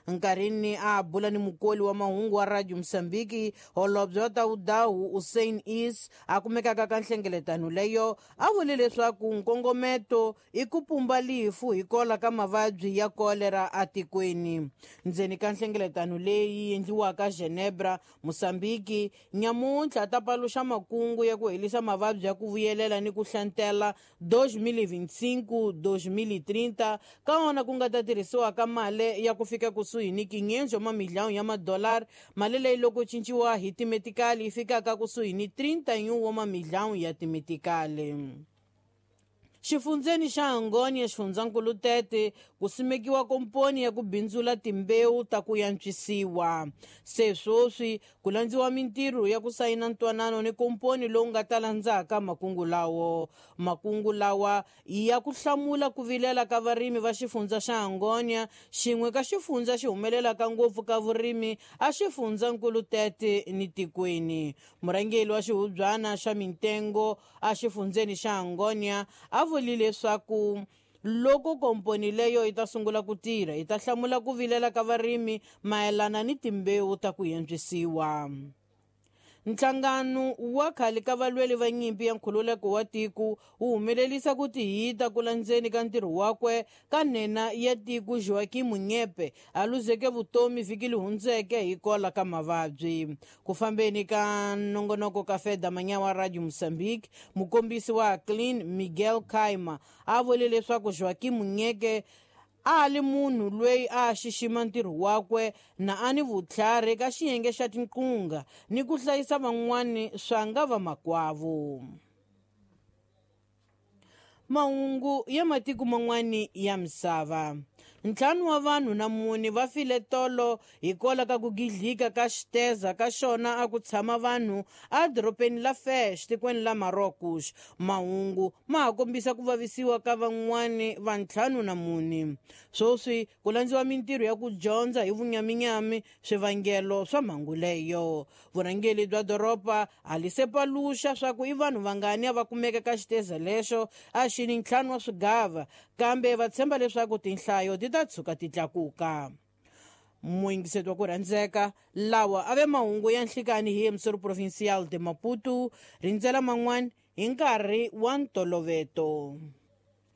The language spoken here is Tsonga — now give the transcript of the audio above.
Nkarhini a bula ni mukoli wa mahungu wa Radio Mozambique, holobye wa Tawudawu Usain Is a kumekaka ka nhlengeletano leyo a vule leswaku nkongometo i ku pumba lifu hi kola ka mavabyi ya kolera atikweni. Ndzeni ka nhlengeletano leyi endliwaka Genebra, Mozambique, nyamuntlha ta paluxa makungu ya ku helisa mavabyi ya ku vuyelela ni ku hlantela 2025-2030, ka wona ku nga ta tirhisiwa ka mali ya ku fika kusuhi ni 500 wa mamiliyoni ya madolari, mali leyi loko cinciwa hi timetikali yi fikaka kusuhi ni 31 wa mamiliyoni ya timetikali. Xifundzeni xa Angônia, xifundzankulu Tete, ku simekiwa komponi ya ku bindzula timbewu ta ku yantswisiwa. Se swoswi ku landziwa mintirho ya ku sayina ntwanano ni komponi lowu nga ta landzaka makungu lawo. Makungu lawa i ya ku hlamula ku vilela ka varimi va xifundza xa Angônia, xin'we ka xifundza xi humelelaka ngopfu ka vurimi a xifundzankulu Tete ni tikweni. Murhangeri wa xihubyana xa mintengo a xifundzeni xa Angônia a vule leswaku loko komponi leyo yi ta sungula ku tirha yi ta hlamula ku vilela ka varimi mayelana ni timbewu ta ku yantswisiwa. Nhlangano wa khale ka valweli va nyimpi ya nkhululeko wa tiko wu humelerisa ku tihita ku landzeni ka ntirho wakwe ka nhenha ya tiko Joaquim Nyepe a luzeke vutomi vhiki leri hundzeke hi kola ka mavabyi. Ku fambeni ka nongonoko ka Feda Manyawa Radio Mozambique, mukombisi wa Clean Miguel Kaima a vule leswaku Joaquim Nyeke a li munhu loyi a xixima ntirho wakwe na a ni vutlhari ka xiyenge xa tinqunga ni ku hlayisa van'wani swa nga vamakwavo. Mahungu ya matiko man'wani ya misava. 5 wa vanhu na 4 va file tolo hikwalaho ka ku gidlika ka xiteza ka xona a ku tshama vanhu edorobeni la Fes, tikweni la Marocos. Mahungu ma ha kombisa ku vavisiwa ka van'wani va 54. Swoswi ku landziwa mintirho ya ku dyondza hi vunyaminyami swivangelo swa mhangu leyo. Vurhangeri bya doroba a li se paluxa swa ku i vanhu vangani a va kumeka ka xiteza lexo a xi ni 5 wa swigava, kambe va tshemba leswaku tinhlayo ti ta tshuka ti tlakuka. Muyingiseti wa ku rhandzeka, lawa a ve mahungu ya nhlikani hi Emissor Provincial de Maputo, rindzela man'wani hi nkarhi wa ntoloveto.